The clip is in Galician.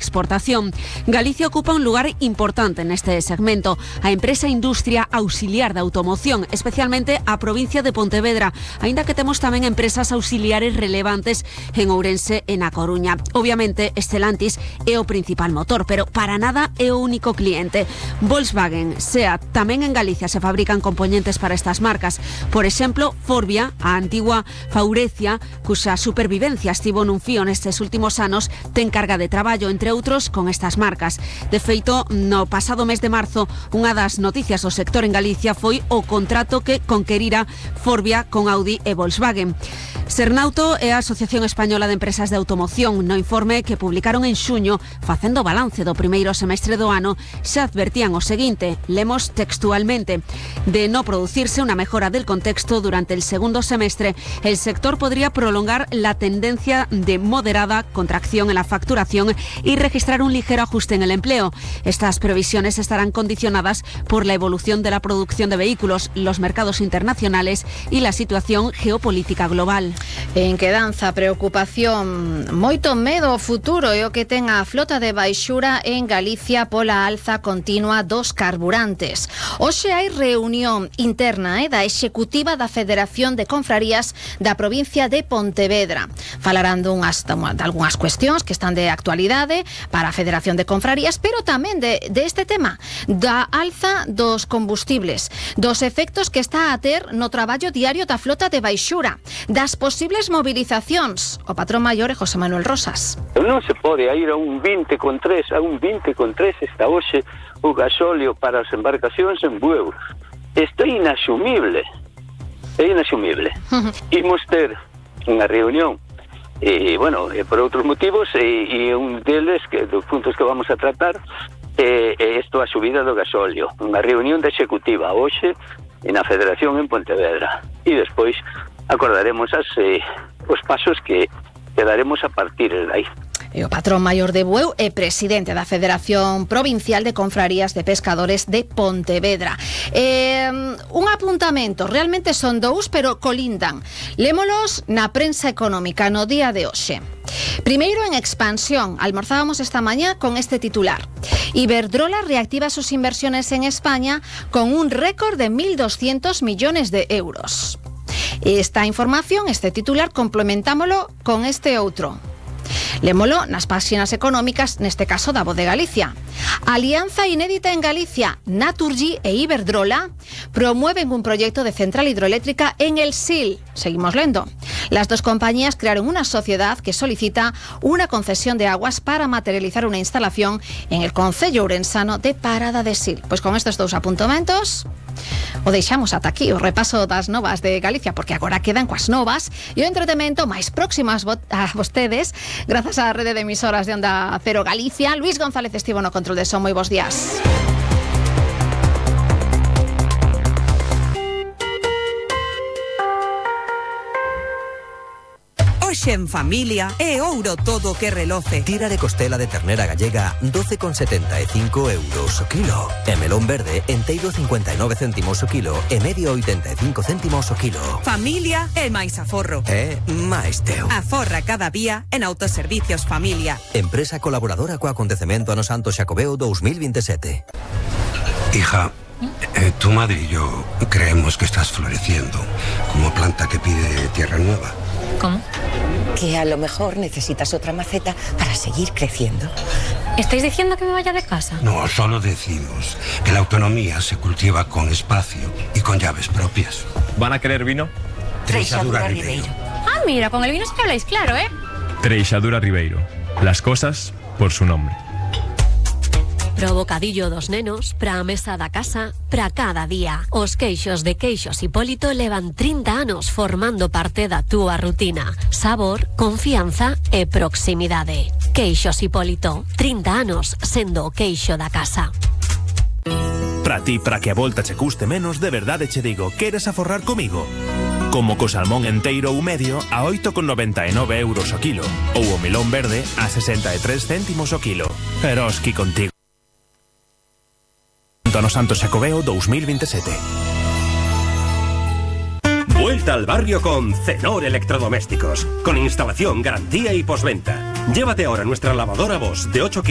exportación. Galicia ocupa un lugar importante neste segmento. A empresa industria auxiliar da automoción, especialmente a provincia de Pontevedra, aínda que temos tamén empresas auxiliares relevantes en Ourense e na Coruña. Obviamente, Stellantis é o principal motor, pero para nada é o único cliente. Volkswagen, SEAT, tamén en Galicia se fabrican componentes para estas marcas. Por exemplo, Forvia, a antigua Faurecia, cuxa supervivencia estivo nun fío nestes últimos anos, ten carga de traballo, entre outros, con estas marcas. De feito, no pasado mes de marzo, unha das noticias do sector en Galicia foi o contrato que conquerira Forvia con Audi e Volkswagen. Sernauto é a Asociación Española de Empresas de Automoción. No informe que publicaron en xuño, facendo balance do primeiro semestre do ano, xa advertían o seguinte, lemos textualmente: de no producirse una mejora del contexto durante el segundo semestre, el sector podría prolongar la tendencia de moderada contracción en la facturación y registrar un ligero ajuste en el empleo. Estas previsiones estarán condicionadas por la evolución de la producción de vehículos, los mercados internacionales y la situación geopolítica global. En quedanza, preocupación, moito medo ao futuro é o que ten a flota de baixura en Galicia pola alza continua dos carburantes. Hoxe hai reunión interna da executiva da Federación de Confrarías da provincia de Pontevedra. Falarán de algunhas cuestións que están de actualidade para a Federación de Confrarías, pero tamén de este tema, da alza dos combustibles, dos efectos que está a ter no traballo diario da flota de baixura, das posibles movilizacións. O patrón maior é José Manuel Rosas. Non se pode ir a un 20,3, está hoxe o gasóleo para as embarcacións en Bueu. Isto é inasumible. Imos ter unha reunión por outros motivos e un deles, dos puntos que vamos a tratar, é isto, a subida do gasóleo. Unha reunión de executiva hoxe na Federación en Pontevedra. E despois acordaremos os pasos que daremos a partir de aí. E o patrón maior de Bueu é presidente da Federación Provincial de Confrarías de Pescadores de Pontevedra. Un apuntamento, realmente son dous, pero colindan. Lémolos na prensa económica no día de hoxe. Primeiro, en expansión, almorzábamos esta mañá con este titular. Iberdrola reactiva sus inversiones en España con un récord de 1.200 millones de euros. Esta información, este titular, complementámolo con este outro. Lémolo nas páxinas económicas, neste caso da Voz de Galicia. Alianza inédita en Galicia. Naturgy e Iberdrola promueven un proyecto de central hidroeléctrica en el Sil. Seguimos lendo. Las dos compañías crearon una sociedad que solicita una concesión de aguas para materializar una instalación en el concello ourensano de Parada de Sil. Pois con estes dous apuntamentos o deixamos ata aquí o repaso das novas de Galicia, porque agora quedan coas novas e o entretemento máis próximas a vostedes, grazas á rede de emisoras de Onda Cero Galicia. Luis González estivo no control de son. Moi bons días. Hoxe en familia é ouro todo que reloce. Tira de costela de ternera gallega 12,75 euros o kilo. E melón verde enteiro 59 céntimos o kilo e medio 85 céntimos o kilo. Familia é máis aforro. É máis teu. Aforra cada día en Autoservicios Familia. Empresa colaboradora co acontecemento Ano Santo Xacobeo 2027. Hija, tu madre y yo creemos que estás floreciendo como planta que pide tierra nueva. ¿Cómo? Que a lo mejor necesitas otra maceta para seguir creciendo. ¿Estáis diciendo que me vaya de casa? No, solo decimos que la autonomía se cultiva con espacio y con llaves propias. ¿Van a querer vino? Treixadura Ribeiro. Ah, mira, con el vino es que habláis claro, ¿eh? Treixadura Ribeiro. Las cosas por su nombre. Pro bocadillo dos nenos, pra mesa da casa, pra cada día. Os queixos de Queixos Hipólito levan 30 anos formando parte da túa rutina. Sabor, confianza e proximidade. Queixos Hipólito, 30 anos sendo o queixo da casa. Pra ti, para que a volta che custe menos, de verdade che digo, queres aforrar comigo? Como co salmón enteiro ou medio a 8,99 euros o kilo, ou o melón verde a 63 céntimos o kilo. Eroski contigo. Ano Santo Xacobeo 2027. Vuelta al barrio con Cenor Electrodomésticos, con instalación, garantía y postventa. Llévate ahora nuestra lavadora Bosch de 8 kilos.